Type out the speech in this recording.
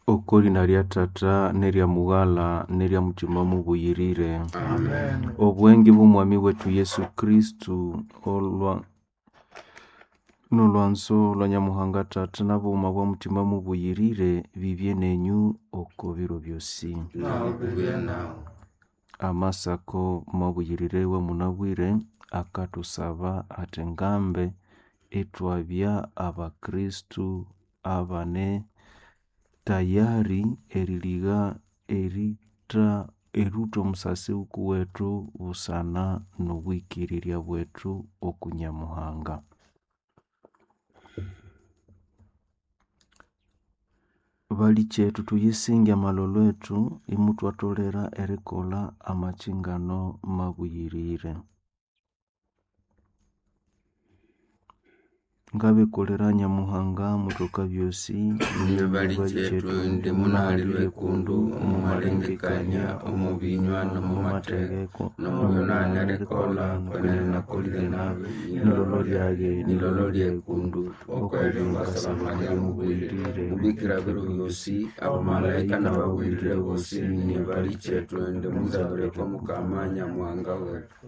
Oko lina lya Tata n'erya Mughala n'erya Mutima Mubuyirire. Amen. Obwenge bw'Omwami wetu Yesu Kristu olwa n'olwanzo lwa Nyamuhanga Tata n'obughuma bwa Mutima Mubuyirire bibye nenyu oko biro byosi. Nawe bibye nawe. Amasako mabuyirire wamunabwire akathusaba athi ngambe ithwabya Abakristu abane tayari eriligha eritha erutha omusasi wukuwethu busana n'obwikirirya bwethu oku Nyamuhanga. Balikyetu thuyisinge amalholo ethu imuthwatholera erikolha amakyingano mabuyirire. Ngabikulira Nyamuhanga muthoka byosi. Inye balikyetu indi munahalirwe ekundu omu malengekania, omu binywa, n'omu mathegeko, n'omu byonahana erikolha, kwenene nakolire nabi, nilolo lyayi, nilolo lyekundu, okw'ebyo ngasaba Maria mubuyirire, mubikira biro byosi, abamalaika n'ababuyirire bosi, inye balikyetu indi munzabire oko Mukama Nyamuhanga wetu.